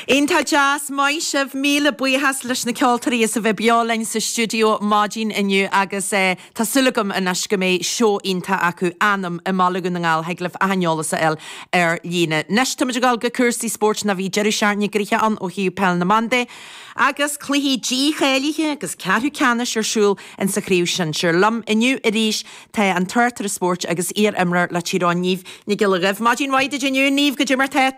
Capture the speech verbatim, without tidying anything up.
Iontach deas maith sibh míle buíochas leis na ceoltóirí as a bheith beo linn sa stiúideo maidin inniu agus eh, tá súil agam anois go mbeidh seó iontach acu anam i mBaile Dhún na nGall thig libh an t-eolas a fháil ar líne. Anois táimid ag dul go cúrsaí spóirt na bhí deireadh seachtaine gnoitheach ann ó thaobh peil na mban de. Agus cluichí dícháilithe agus ceathrú ceannais ar siúl in sa chraobh shinsir. Liom inniu arís tá an tráchtaire spóirt agus iar-imreoir le Tír Eoghain Niamh Nic Giolla Dhuibh. Maidin mhaith duit inniu Niamh goidé mar tá tú.